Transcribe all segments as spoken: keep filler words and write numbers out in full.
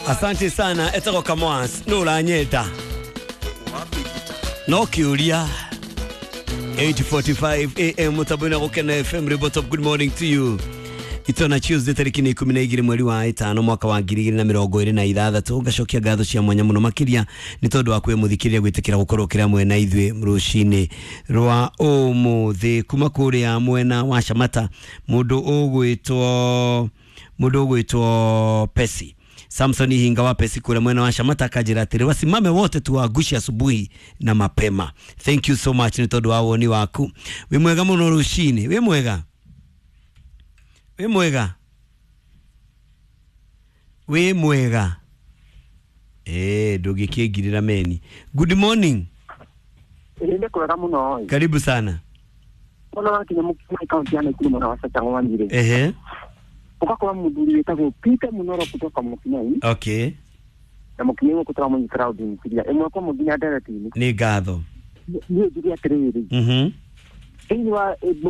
Asante sana etagwo Kamwas no uranyenda no kiuria. Eight forty-five A M mutabona gukena F M Ribotop. Good morning to you. Itona Tuesday tariki ni ikumi na igiri mweri wa itano mwaka wa ngiri igiri na mirongo iri na ithathatu. Ngacokia ngatho cia mwanya muno makiria ni tondu wa kwe muthikiria gwitikira gukorwo kira mwena ithwe rucini rwa umuthi kuma kuria mwena wa Shamata mundu ugwitwo mundu ugwitwo Pesi Samson Hinga wa Pesi kule mwena wa Shamata akajira atiri wasimame wote tuwagushi asubuhi na mapema. Thank you so much ni tondu wa woni waku. Wi mwega muno rucini, wi mwega. Wi mwega. Wi mwega. Eh, ndungikingirira meni. Good morning. Ende kwega muno. Karibu sana. Muno wakinya mukina kaunti ya Nakuru mwana wa Sachangwa Njire. Ehe. Ukakuwa muthuri wetagwo Peter Munoro kutoka Mukinyai. Okay. Na Mukinyai kutoka mu crowd nkiria. Imwe kwa muginya direct ni. Ni ngatho. Ni njuge atiriri. Mhm. Thĩinĩ wa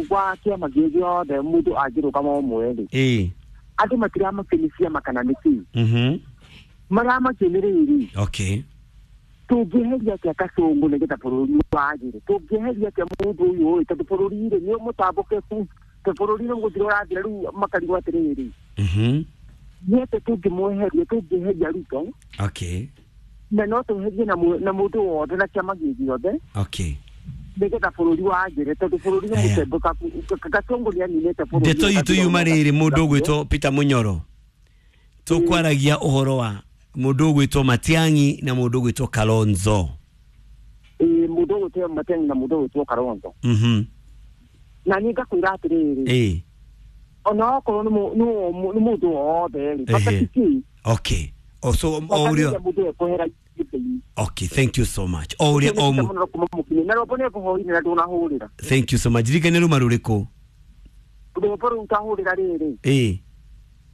wa kĩama gĩ gĩothe mũndũ angĩrũgama ũmwe rĩ. Ĩĩ. Andũ matiramakio ciama kana nĩ kĩĩ. Mhm. Maramakio nĩ rĩrĩ. Okay. Tũngĩeheria atĩa Kasongo nĩgetha bũrũri wagĩre? Tũngĩeheria atĩa mũndũ ũyũ ũĩ tondũ bũrũri rĩ nĩ mũtambũke ku bũrũri nĩ gũthira ũrathira rĩu makarigwo atĩrĩrĩ. Mhm. Nĩ atĩa tũngĩmweheria tũngĩeheria Ruto? Okay. Na no tũeherie na mũndũ wothe na kĩama gĩ gĩothe. Okay. Nĩgetha bũrũri wagĩre tondũ bũrũri nĩ mũtembũka Kasongo nĩaninĩte bũrũri. Ndeto itũ yuma rĩrĩ mũndũ ũgwĩtwo Peter Munyoro. Tũkwaragia ũhoro wa mũndũ ũgwĩtwo Matiang'i na mũndũ ũgwĩtwo Kalonzo. Ĩĩ mũndũ ũgwĩtwo Matiang'i na mũndũ ũgwĩtwo Kalonzo. Mhm. Na niĩ ngakwĩra atĩrĩrĩ. Ĩĩ. Ona okorwo nĩ mũndũ wothe rĩ bata ti kĩĩ. Okay. O so o ũrĩa mũndũ ekwehera gĩtĩ-inĩ. Okay, thank you so much. O ũrĩa o mu. Na rwĩmbo nĩ ngũhoire na ndũnahũrĩra. Thank you so much. Ririkane ruma rũrĩkũ? Rwĩmbo rũu utahũrĩra rĩrĩ. Ĩĩ.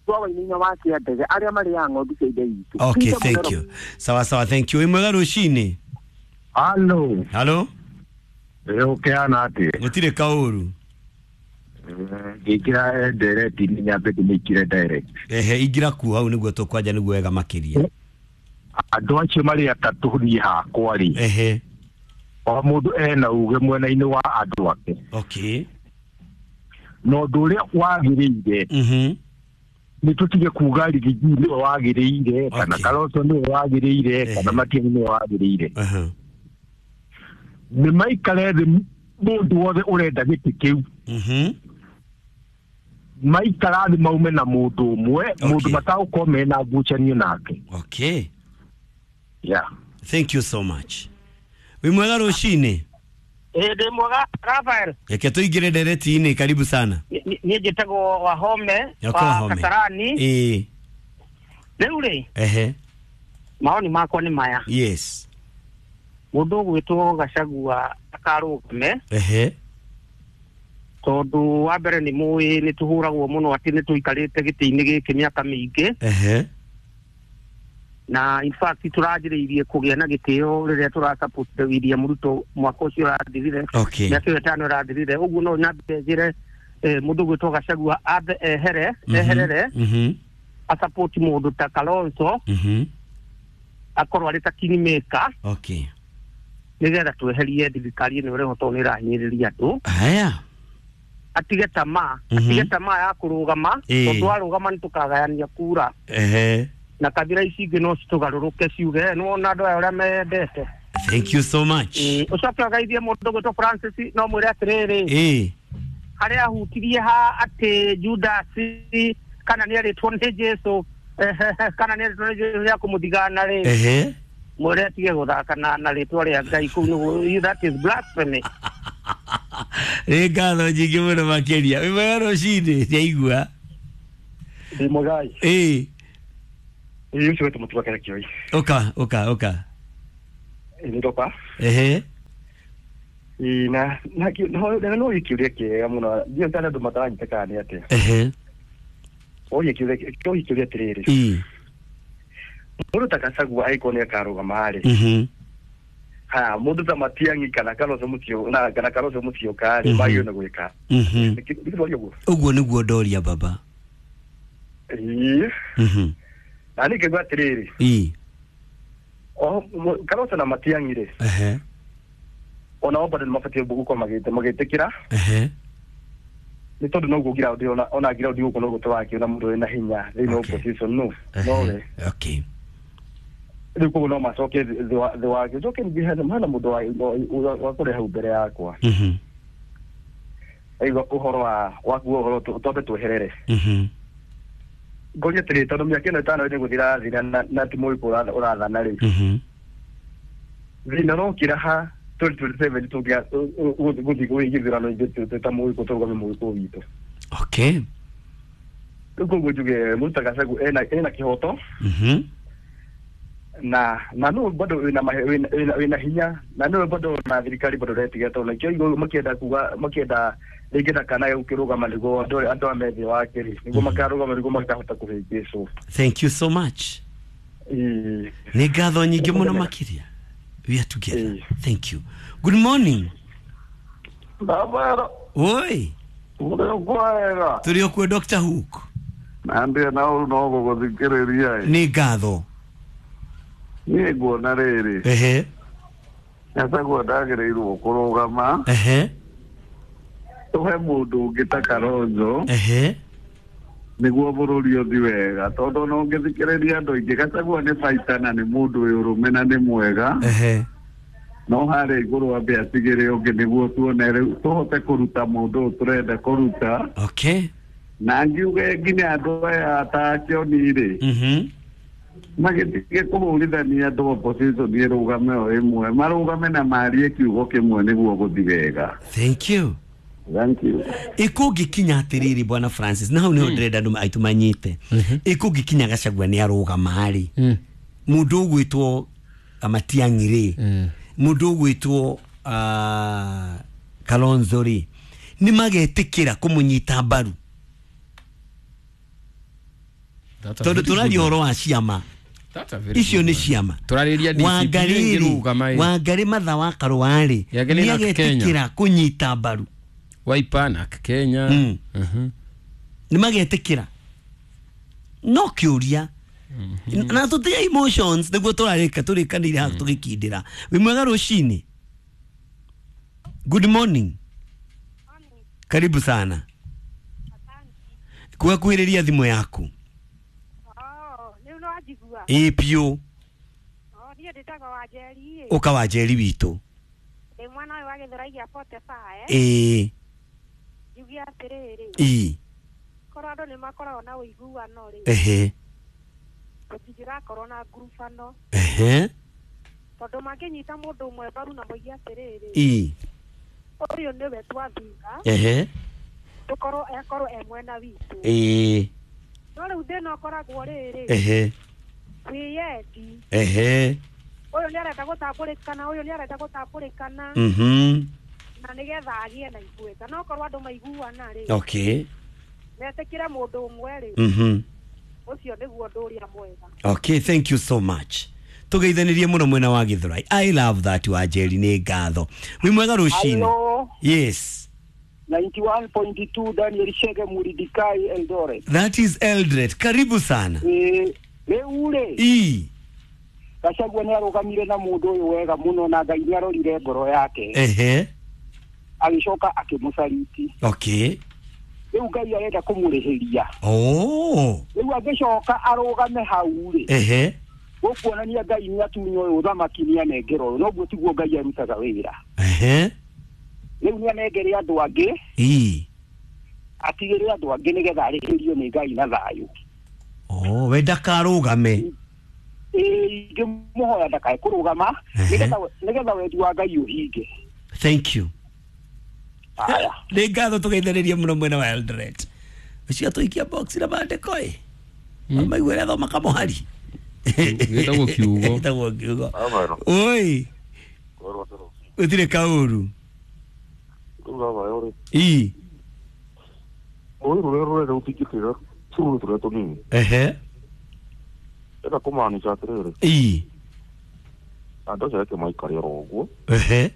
Rwa Wainaina wa Kĩandege arĩa marĩaga ng'ondu cia ithe witũ. Okay, thank you. Sawa sawa, thank you. Wĩ mwega rũcinĩ? Hello. Hello. Ũkĩhana atĩa? Gũtirĩ kaũru. Ngĩkĩra direct nĩ nyambe ndĩmĩkĩre direct. Ehe, ingĩra kuo hau nĩguo tũkwanja nĩguo wega makĩria. Andũ acio marĩ atatũ niĩ hakwa rĩ. Ehe. O mũndũ ena uge mwena-inĩ wa andũ ake. Okay. Na ũndũ ũrĩa wagĩrĩire. Mhm. Nĩ tũtige kuga Rigiji nĩwe wagĩrĩire kana Kalonzo nĩwe wagĩrĩire kana Matiang'i nĩwe wagĩrĩire. Aha. Nĩ maikare thĩ mũndũ wothe ũrenda gĩtĩ kĩu. Mhm. Maikara thĩ maume na mũndũ ũmwe mũndũ matagũkorwo mena ngucanio nake. Okay. Yeah. Thank you so much. Wĩ mwega rũcinĩ? Ĩĩ ndĩ mwega Rafael. Reke tũingĩre ndereti-inĩ, karibu sana. Niĩ njĩtagwo Wahome wa Kasarani. Ĩĩ. Rĩu rĩ. Ehe. Maoni makwa nĩ maya. Yes. Mũndũ ũgwĩtwo Gachagua akarũgame. Ehe. Tondũ wa mbere nĩ mũĩ nĩ tũhũragwo mũno atĩ nĩ tũikarĩte gĩtĩ-inĩ gĩkĩ mĩaka mĩingĩ. Ehe. Na in fact tũranjĩrĩirie kũgĩa na gĩtĩo rĩrĩa tũrasupport William Ruto mwaka ũcio ũrathirire. Okay. Mĩaka ĩyo ĩtano ĩrathirire. Ũguo no nyambe njĩre mũndũ ũgwĩtwo Gachagua ambe ehere eherere. Mhm. Asupport mũndũ ta Kalonzo. Mhm. Akorwo arĩ ta kingmaker. Okay. Nĩgetha tweherie thirikari ĩno ĩrĩa tondũ nĩ ĩrahinyĩrĩria andũ. Haya. Atige tamaa, atige tamaa ya kũrũgama tondũ arũgama nĩ tũkagayania kura. Ehe. Na kabira ici ingĩ no citũgarũrũke ciuge nĩ wona andũ aya ũrĩa mendete. Thank you so much. Ũcoke ũgeithie mũndũ ũgwĩtwo Francis no mwĩre atĩrĩrĩ. Ĩĩ. Harĩa ahutirie ha atĩ Judas kana nĩ erĩtwo nĩ Jesu kana nĩ erĩtwo nĩ Jesu nĩ akũmũthigana rĩ. Ehe. Mwĩre atige gũthaka na na rĩtwa rĩa Ngai kũu nĩguo that is blasphemy. Nĩ ngatho nyingĩ mũno makĩria. Wĩ mwega rũcinĩ? Ndiaigua. Ndĩ mwega. Ĩĩ. Ĩĩ ũcio wetwo Mũtuga Kĩrekio. Ũka ũka ũka. Ĩĩ ndoka. Ehe. Ĩĩ na na no kĩũria kĩega mũno. Ndiũĩ kana andũ mataranyita kana nĩ atĩa. Ehe. Oye kĩũria kĩũria atĩrĩrĩ. Ĩĩ. Mũndũ ta Gachagua angĩkorwo nĩ akarũgama rĩ. Mhm. Ha mundu ta Matiang'i kana Kalonzo Musyoka na kana Kalonzo Musyoka rĩ magĩrĩirwo nĩ gwĩka. Mhm. Nĩ ũguo. Ũguo nĩguo ndoria baba. Ĩĩ. Mhm. Na nĩ ngĩigua atĩrĩrĩ. Ĩĩ. O Kalonzo na Matiang'i rĩ. Ehe. Ona o bado nĩ mabatiĩ gũkorwo magĩte magĩtĩkĩra. Ehe. Nĩ tondũ noguo ground ona ona ground gũkũ noguo tũrakĩona mũndũ wĩna hinya thĩinĩ wa opposition no. Nowe. Okay. Rĩu koguo no macoke thĩ wake njoke ningĩ hena hena mũndũ wa wa kũrĩa hau mbere yakwa. Mhm. Aigua ũhoro wa wakuo ũhoro twambe tweherere. Mhm. Ngoria atĩrĩ tondũ mĩaka ĩno ĩtano nĩ gũthira thira na ti mũgĩkũ ũrathana rĩ. Mhm. Thĩna ũrokĩra ha twenty twenty-seven tũngĩa gũthiĩ gũgĩthurano ithuĩ ta mũgĩkũ tũrũgame mũgĩkũ witũ. Okay. Rĩu koguo njuge Mũruta Gachagua ena ena kĩhoto. Mhm. Na na no bado wina wina wina hinya na no bado na thirikari bado retiga to na kio makienda kuga makienda rĩngĩ ndakanae gũkĩrũgama nĩguo andũ andũ a methe wake rĩ nĩguo makarũgama nĩguo makahota kũhĩngĩcwo. Thank you so much. Nĩ ngatho nyingĩ mũno makĩria. We are together. Thank you. Good morning. Baba. Oi. Mũrĩ Tũrĩ o kuo Doctor Hook. Na ndĩ na ũru no gũgũthikĩrĩria. Nĩ ngatho. Niĩ nguona rĩrĩ. Ehe. Gachagua ndagĩrĩirwo kũrũgama. Ehe. Tũhe mũndũ ũngĩ ta Kalonzo. Ehe. Nĩguo bũrũri ũthiĩ wega tondũ no ũngĩthikĩrĩria andũ aingĩ Gachagua nĩ baita na nĩ mũndũ wĩ ũrũme na nĩ mwega. Ehe. No harĩa igũrũ ambe atigĩre ũngĩ nĩguo tuone rĩu tũhote kũruta mũndũ ũyũ tũrenda kũruta. Okay. Na ngiuge nginya andũ aya ta Kĩoni rĩ. Mhm. Magĩtige kũhũrithania andũ opposition ĩrũgame o ĩmwe marũgame na marie kiugo kĩmwe nĩguo gũthiĩ wega. Thank you. Thank you. Ĩkũngĩkinya atĩrĩrĩ Bwana Francis na hau nĩho ndĩrenda andũ aitũ manyite. Ĩkũngĩkinya Gachagua nĩ arũgama rĩ. Mũndũ ũgwĩtwo Matiang'i rĩ. Mũndũ ũgwĩtwo Kalonzo rĩ. Nĩ magetĩkĩra kũmũnyita mbaru. Tondũ tũraria ũhoro wa ciama. Icio nĩ ciama. Tũrarĩria D C P ĩngĩrũgama ĩ. Wangarĩ Matha wa Karũa rĩ nĩagetĩkĩra kũnyita mbaru. Wiper na Kenya. Mm. Nĩ magetĩkĩra. No kĩũria. Na tũtige emotions nĩguo tũrarĩka tũrĩkanĩire haha tũgĩkindĩra. Wĩ mwega rũcinĩ. Good morning. Karibu sana. Kugakuhĩrĩria thimũ yaku. Ĩĩ piũ. Ũka Wanjeri witũ. Ndĩ mwana ũyũ wa Gĩthũrai gĩa forty-five. Ĩĩ. Njuge atĩrĩrĩ. Ĩĩ. Korwo andũ nĩ makoragwo na ũiguano rĩ. Ehe. Tũtingĩrakorwo na ngurubano. Ehe. Tondũ mangĩnyita mũndũ ũmwe mbaru na moige atĩrĩrĩ. Ĩĩ. Ũyũ nĩwe twathura. Ehe. Tũkorwo akorwo e mwena witũ. Ĩĩ. No rĩu thĩna ũkoragwo rĩrĩ. Ehe. Wĩyendi. Ehe. Ũyũ nĩ arenda gũtambũrĩkana, ũyũ nĩ arenda gũtambũrĩkana. Mhm. Na nĩgetha agĩe na igweta. No korwo andũ maiguana rĩ. Okay. Metĩkĩre mũndũ ũmwe rĩ. Mhm. Ũcio nĩguo ũndũ ũrĩa mwega. Okay, thank you so much. Tũgeithanirie mũno mwena wa Gĩthũrai. I love that Wanjeri, nĩ ngatho. Wĩ mwega rũcinĩ. Yes. ninety-one point two Daniel Shege Muridikai Eldoret. That is Eldoret. Karibu sana. Eh, rĩu rĩ. Ii. Gachagua nĩ arũgamire na mũndũ ũyũ wega mũno na Ngai nĩ arorire ngoro yake. Ehe. Agĩcoka akĩmũcariti. Okay. Rĩu Ngai arenda kũmũrĩhĩria. Oh. Rĩu angĩcoka arũgame hau rĩ. Ehe. Gũkuonania Ngai nĩ atunywo ũyũ ũthamaki nĩ anengerwo ũyũ. Noguo tiguo Ngai arutaga wĩra. Ehe. Rĩu nĩ anengere andũ angĩ. Ii. Atigĩre andũ angĩ nĩgetha arĩhĩrio nĩ Ngai na thayũ. Oh, we ndakarũgame. Ĩĩ, ingĩmũhoya ndakae kũrũgama nĩgetha nĩgetha wendi wa Ngai ũhinge. Thank you. Nĩ ngatho tũgeithĩrĩrie mũno mwena wa Eldoret. Ũcio atũikia box na mandĩko ĩ. Amaiguĩra thoma kamũhari. Gĩtagwo kiugo. Gĩtagwo kiugo. Oi. Gũtirĩ kaũru. Ii. Rũĩ rũrĩa rũrenda gũtingĩtĩra tũrũĩ tũrĩa tũnini. Ehe. Ĩka kũmaanisha atĩrĩrĩ. Ii. Andũ acio reke maikare oro ũguo. Ehe.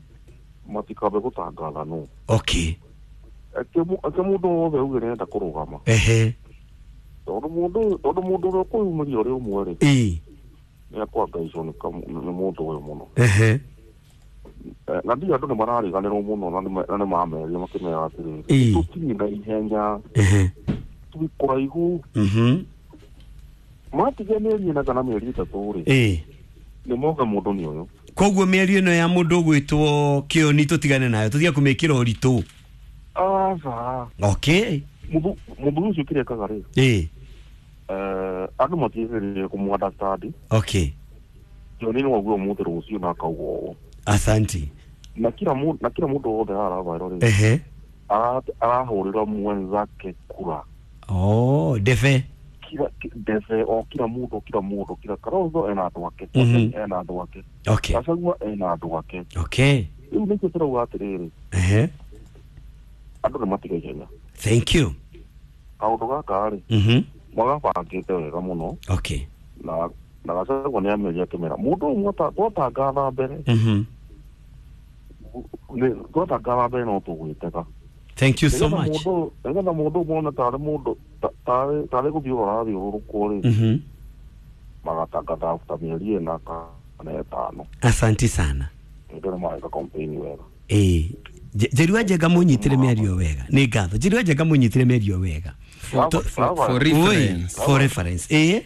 Matikabe gũtangatha no. Okay. Eke mũndũ wothe uge nĩarenda kũrũgama. Ehe. Tondũ mũndũ tondũ mũndũ ũrĩa ũkwĩyumĩria ũrĩ ũmwe rĩ. Ĩĩ. Nĩakwangaicwo nĩ mũndũ ũyũ mũno. Ehe. Na ndio andũ nĩ marariganĩrwo mũno na nĩ mameria makĩmera atĩrĩrĩ tũtirĩ na ihenya. Ehe. Twĩ kũraihu. Mhm. Matigia mĩeri ĩna kana mĩeri ĩtatũ rĩ. Ĩĩ. Nĩ moga mũndũ nĩ ũyũ. Koguo mĩario ĩno ya mũndũ ũgwĩtwo Kĩoni tũtigane nayo tũtige kũmĩkĩra ũritũ. Aca. Okay. Mũthuri ũcio kĩrĩa ekaga rĩ. Ĩĩ. Eh, andũ matiagĩrĩire kũmũ understand. Okay. Kĩoni no auge ũmũthĩ rũciũ na akauga ũũ. Asante. Na kila mũndũ na kila mũndũ wothe aravairwo rĩ. Ehe. Arahũrĩra mwenzake kura. Oh, defe. Kila defe o kila mũndũ kila mũndũ kila Kalonzo ena andũ ake. Ena andũ ake. Okay. Gachagua ena andũ ake. Okay. Rĩu nĩkĩo tũrauga atĩrĩrĩ. Ehe. Andũ nĩ matige ihenya. Thank you. Kaũndũ gaka rĩ. Mhm. Magabangĩte wega mũno. Okay. Na na Gachagua nĩ ameria akĩmera mũndũ ũmwe twatangatha mbere. Mhm. Twatangatha mbere no tũgwĩtega. Thank you so much. Nĩgetha mũndũ ũmwe one tarĩ mũndũ tarĩ tarĩ gũthiĩ ũrathiũrũrũkwo rĩ. Mhm. Magatangatha after mĩeri ĩna kana ĩtano. Asante sana. Ndio mareka campaign wega. Eh, Njeri Njenga mũnyitire mĩario wega. Nĩ ngatho. Njeri Njenga mũnyitire mĩario wega. For, for, for reference. For reference. Eh?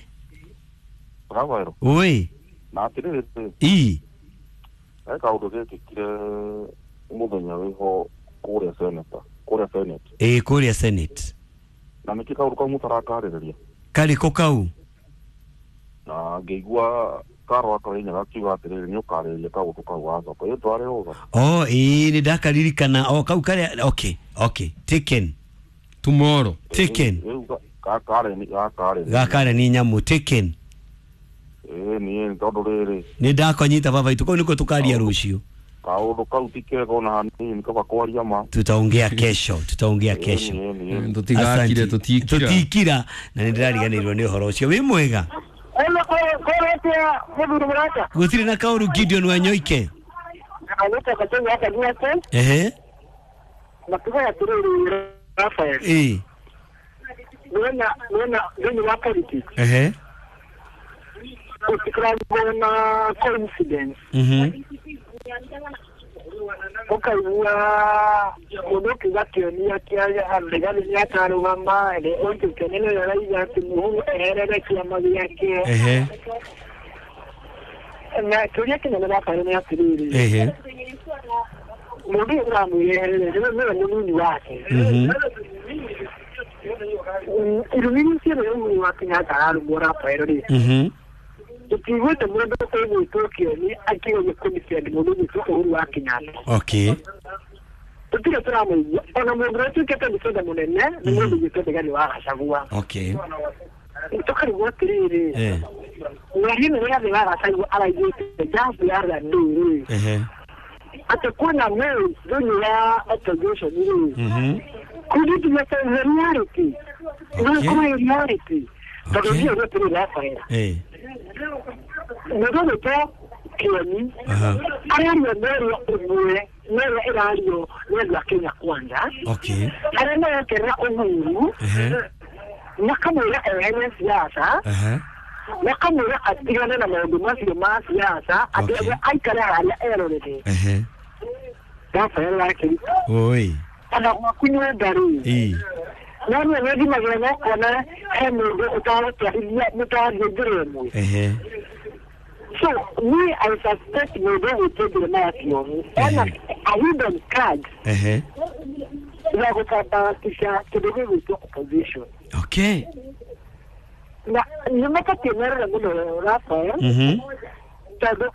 Bravo. Oi. Na atĩrĩrĩ. Ii. He kaũndũ gekĩkire mũthenya wĩho kũrĩa Senate. Kũrĩa Senate. Eh, kũrĩa Senate. Na nĩkĩ kaũndũ kau mũtarakarĩrĩria? Karĩkũ kau? Na ngĩigua Karo akarinyaga akiuga atĩrĩrĩ nĩ ũkarĩrĩria kaũndũ kau wacoka ĩ ndwarĩ rũtha. Oh, ĩĩ nĩ ndakaririkana. Oh, kau karĩa okay, okay. Taken. Tomorrow. Taken. Gakare ni gakare. Gakare ni nyamũ taken. Ĩĩ nĩ tondũ rĩrĩ. Nĩ ndakonyita baba itũ kau nĩko tũkaria rũciũ. Kaũndũ kau ti kega ona hanini kaba kwaria ma. Tutaongea kesho, tutaongea kesho. Tũtigakire tũtikira. Tũtikira na nĩ ndĩrariganĩirwo nĩ ũhoro ũcio. Wĩ mwega? Gũtirĩ na kaũru Gideon Wanyoike. Ehe. Ĩĩ. Ehe. Gũtikoragwo na coincidence. Mhm. Ũkaigua mũndũ ũkiuga Kĩoni Rigathi nĩakarũgama ũngĩ Kĩoni nĩwe ũrauga atĩ Mũhuru eherere kĩama gĩake. Ehe. Na kĩũria kĩnene Rafael nĩ atĩrĩrĩ. Ehe. Mũndũ ũyũ ũramwĩra eherere nĩwe mũnini wake. Mhm. Irumi icio rĩ Uhuru wa Kenyatta ararũmwo Rafael rĩ. Mhm. Tũtiguĩte mũndũ ũgwĩtwo Kĩoni akĩgeria kũdefend mũndũ ũgwĩtwo Uhuru wa Kenyatta. Okay. Tũtirĩ tũramũigua ona mũndũ ũrĩa ũtuĩkĩte defender mũnene nĩ mũndũ ũgwĩtwo Rigathi wa Gachagua. Okay. Tũkarigwo atĩrĩrĩ. Eh. Mĩario ĩno Rigathi wa Gachagua araiguĩte just the other day rĩ. Ehe. Atĩ kwĩna mĩri thĩinĩ wa opposition rĩ. Mhm. Could it be a reality? Okay. Reality. Tondũ ndiũĩ gũtirĩ Rafael. Eh. Mũndũ ũgwĩtwo Kĩoni araria mĩario ĩmwe na ĩrĩa ĩrario nĩ andũ a Kenya Kwanza. Okay. Arĩa marekerera Uhuru makamwĩra ehere siasa. Makamwĩra atigane na maũndũ macio ma siasa atĩ aikare harĩa erorere. Ehe. Rafael wakĩrita. Oi. Ona gwaku nyũmba rĩ. Ĩĩ. No nĩ nĩthimagĩra na ũkona he mũndũ ũtaratwarithia mũtarathiĩ njĩra ĩmwe. Ehe. So me, I suspect mũndũ ũgwĩtwo Jeremiah Kĩoni ena a hidden card Ehe. ya gũtambaratisha kĩndũ gĩgwĩtwo opposition. Okay. Na nĩ mabatiĩ merore mũno Rafael. Mhm. Tondũ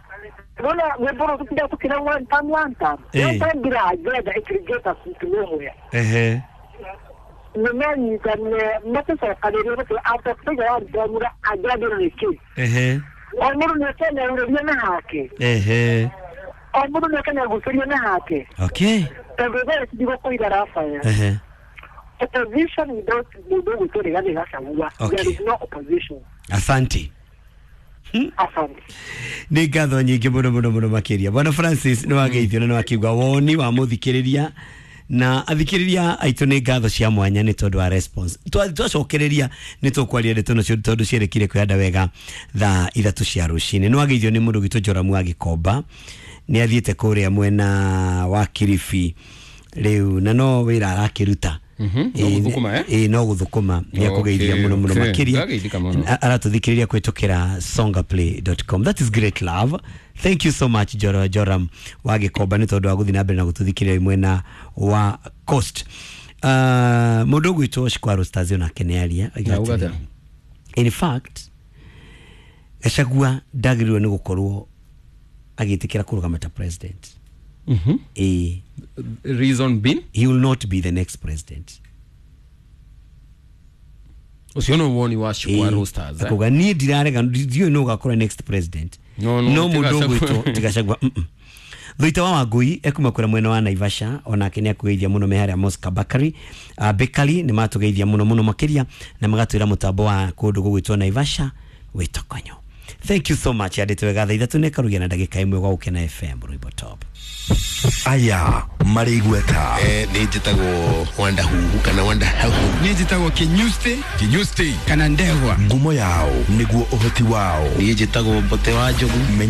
nona rwĩmbo rũrũ tũtindaga tũkĩra one time one time. Ĩĩ. One time ndĩrangĩenda it will get us to nowhere. Ehe. Nĩmanyitane matũcokanĩrie gũtĩ after figure out ndamura angĩambĩrĩria nĩkĩ. Ehe. O mũndũ nĩakenerũrĩria na hake. Ehe. O mũndũ nĩakenegucĩria na hake. Okay. Tondũ thaa ici ndigũkũiga Rafael. Ehe. Opposition without mũndũ ũgwĩtwo Rigathi Gachagua. Okay. There is no opposition. Asante. Asante. Nä ngatho nyingä må no må no må no makä ria. Bwana Francis, nä wageithio na nä wakiuga woni wa må thikä rä ria na athikä rä ria aitå nä ngatho cia mwanya nä tondå wa response. Twacokereria nä tåkwaria ndeto nacio tondå cierekire kwĩhanda wega thaa ithatũ cia rũcinĩ. Nĩ wageithio nĩ mũndũ gwitũ Joramu wa Gĩkomba, nĩ athiĩte kũrĩa mwena wa Kilifi rĩu na no wĩra arakĩruta. No gũthũkũma, eh? Ĩĩ, no gũthũkũma. Nĩ akũgeithia mũno mũno Okay. makĩria. Ndageithĩka mũno. Aratũthikĩrĩria kũhĩtũkĩra songaplay dot com. That is great love. Thank you so much, Joro, Joram wa Gĩkomba, nĩ tondũ wa gũthiĩ na mbere na gũtũthikĩrĩria mwena wa Coast. uh, Mũndũ ũgwĩtwo Shikwaro Stars onake nĩ aria. Na auga atĩa? In fact, Gachagua ndagĩrĩirwo nĩ gũkorwo agĩtĩkĩra kũrũgama ta president. Mhm. Ĩĩ. Reason being, he will not be the next president. Ũcio nĩ woni wa Shikwaro Stars, eh? Akuga niĩ ndirarega, ndiũĩ nũ ũgakorwo next president, No, no, no ti mũndũ Gachagua. ũgwĩtwo ti Gachagua. mm, mm. Thuita wa Wangui ekuma kũrĩa mwena wa Naivasha, onake nĩ akũgeithia mũno me harĩa Mosca Bakery, uh, Bakery nĩ matũgeithia mũno mũno makĩria na magatwĩra mũtambo wa kũndũ gũgwĩtwo Naivasha wĩtokonyo. Thank you so much. Yandĩtwo wega thaa ithatũ nĩ ĩkarugia na ndagĩka ĩmwe gwa Gũkena F M Rwĩmbo Top. Aya marĩ igweta. Eh, nĩ njĩtagwo Wanda Huhu kana Wanda Hau. Nĩ njĩtagwo Kinyusti. Kinyusti kana Ndegwa. Ngumo yao nĩguo ũhoti wao. Niĩ njĩtagwo Mbote wa Njogu. Menya